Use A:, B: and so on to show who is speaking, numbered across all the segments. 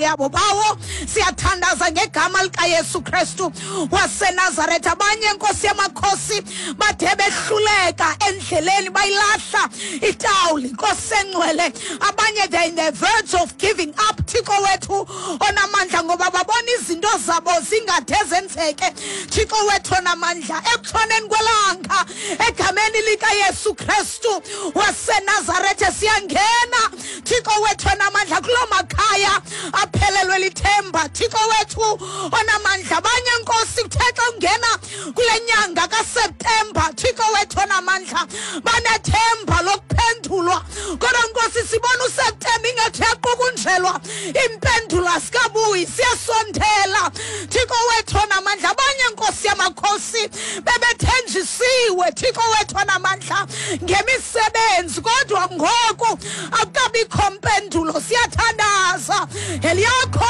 A: yabo. Bawo, siyathandaza ngegama likaYesu Kristu waseNazaretha. Abanye, Nkosi yamakhosi, bade behluleka endleleni, bayilahla itawuli, Nkosi engcwele. Abanye, they in the verge of giving up, Thixo wethu onamandla, ngoba babona izinto zabo zingade zenzeke. Thixo wethu onamandla, ekutshoneni kwelanga, egameni likaYesu Kristu waseNazarethe, siyangena, Thixo wethu onamandla, kuloo makhaya aphelelwe lithemba, Thixo wethu onamandla. Abanye, Nkosi, kuthe xa ungena kule nyanga kaSeptemba, Thixo wethu onamandla, banethemba lokuphendulwa, kodwa Nkosi, sibona uSeptemba ingathi uyaqukunjelwa, impendulo asikabuyi. Siyasondela, Thixo wethu onamandla. Abanye, Nkosi yamakhosi, bebethenjisiwe, Thixo wethu onamandla, ngemisebenzi, kodwa ngoku akukabikho mpendulo. Siyathandaza eliyakho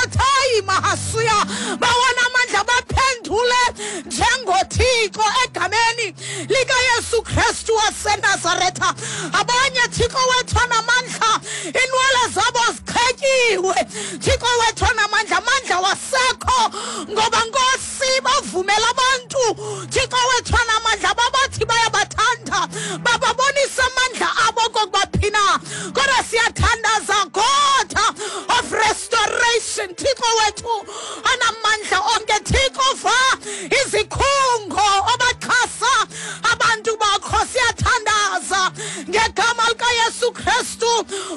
A: mahasuya, bawona amandla, baphendule njengoThixo egameni likaYesu Kristu waseNazaretha. Abanye, Thixo wethu onamandla, inwele zabo zichetyiwe, Thixo wethu onamandla, amandla wasekho, ngoba, Nkosi, bavumela abantu, Thixo wethu onamandla, babathi bayabathanda, bababonisa amandla abo kokuba phina. Kodwa siyathandaza, God of restoration, Thixo wethu onamandla onke, Thixo, va izikhungo obaxhasa abantu bakho. Siyathandaza ngegama likaYesu Kristu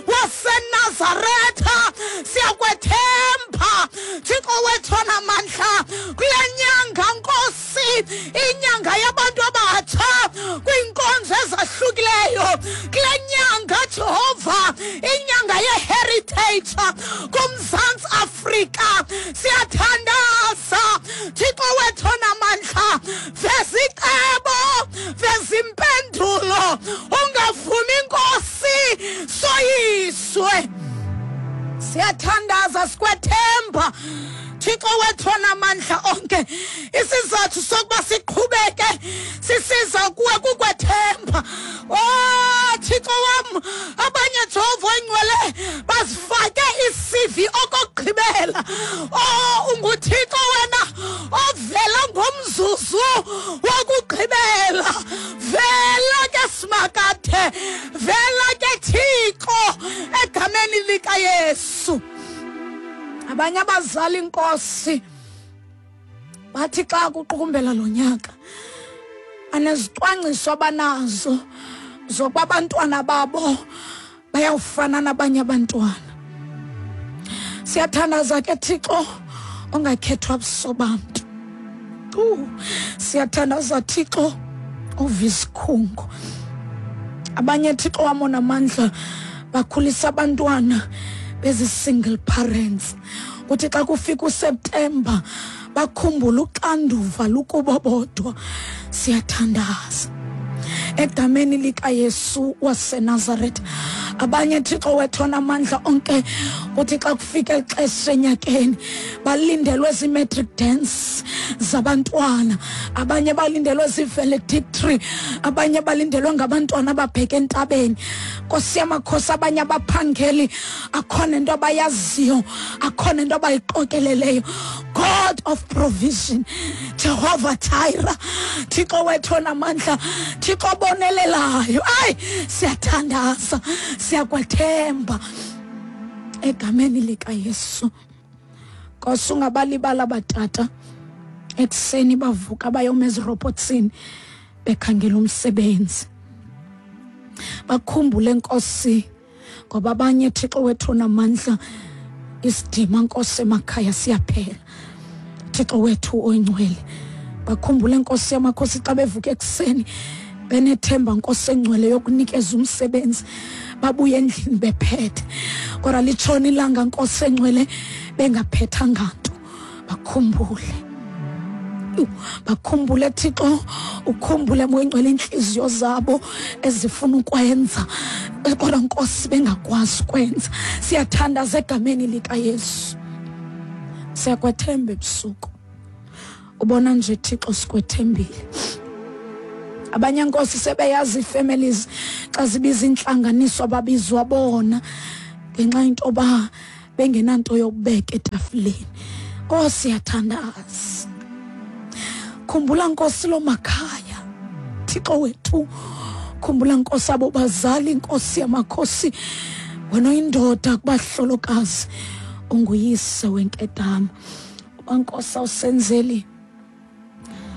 A: waseNazaretha. Siyakwethemba, Thixo wethu onamandla, kule nyanga, Nkosi, inyanga yabantu abatsha kwiinkonzo ezahlukileyo, kule nyanga, Jehova, inyanga ye-heritage kuMzantsi Afrika. Siyathandaza, Thixo wethu onamandla, veza icebo, veza impendulo, ungavumi, Nkosi, soyiswe. Siyathandaza, sikwethemba, Thixo wethu onamandla onke. Isizathu sokuba siqhubeke sisiza kuwe kukwethemba. Oh, Thixo wam, abanye, Jehova oyingcwele, bazifake i-CV okokugqibela. Oh, unguThixo wena ovela ngomzuzu wokugqibela. Vela ke, Simakathe, vela ke, Thixo, egameni likaYesu. Abanye abazali, Inkosi, bathi xa kuqukumbela lo nyaka, anezicwangciso abanazo zokuba abantwana babo bayawufana nabanye abantwana. Siyathandaza ke, Thixo ongakhethwa buso bantu. Siyathandaza, Thixo ova isikhungo. Abanye, Thixo wam onamandla, bakhulisa abantwana bezi-single parents. Kuthi xa kufika uSeptemba, bakhumbule uxanduva lukubo bodwa. Siyathandaza egameni likaYesu waseNazaretha. Abanye, Thixo wethu onamandla onke, kuthi xa kufika ixesha enyakeni, balindelwe zii-matric dance zabantwana, abanye balindelwe zii-valedictory, abanye balindelwe ngabantwana ababheke entabeni. Nkosi yamakhosi, abanye abaphangeli, akho nento abayaziyo, akho nento abayiqokeleleyo. God of provision, Jehovah Jireh, Thixo wethu onamandla, Thixo obonelelayo, ayi, siyathandaza, siyakwethemba egameni likaYesu. Nkosi, ungabalibala batata ekuseni bavuka bayoma ezirobotsini bekhangela umsebenzi. Bakhumbule, Nkosi, ngoba abanye, Thixo wethu onamandla, isidima, Nkosi, emakhaya siyaphela. Thixo wethu oyingcwele, bakhumbule, Nkosi yamakhosi, xa bevuka ekuseni benethemba, Nkosi engcwele, yokunikeza umsebenzi, babuye endlini bephethe, kodwa litshona ilanga, Nkosi engcwele, bengaphethanga nto. Bakhumbule, bakhumbule, Thixo, ukhumbule, Moya Ingcwele, iintliziyo zabo ezifuna ukwenza, kodwa, Nkosi, bengakwazi ukwenza. Siyathandaza egameni likaYesu. Siyakwethemba ebusuku, ubona nje, Thixo, sikwethembile. Abanye, Nkosi, sebeyazi ii-families xa zibiza intlanganiso, ababizwa bona ngenxa into yoba. Bengenanto yokubeka etafileni. Oh, siyathandaza. Khumbula Nkosi lo makhaya. Thixo wethu, khumbula Nkosi abo bazali, Nkosi yamakhosi. Wena oyindoda kubahlolokazi, unguyise wenkedama. Uba Nkosi awusenzeli,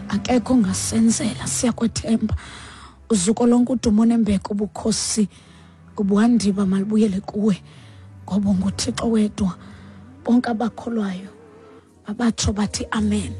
A: akekho ongasenzela. Siyakwethemba. Uzuko lonke, udumo nembeko, ubukhosi, ubuhandiba malibuyele kuwe, ngoba unguThixo wedwa. Bonke abakholwayo abatsho bathi amen.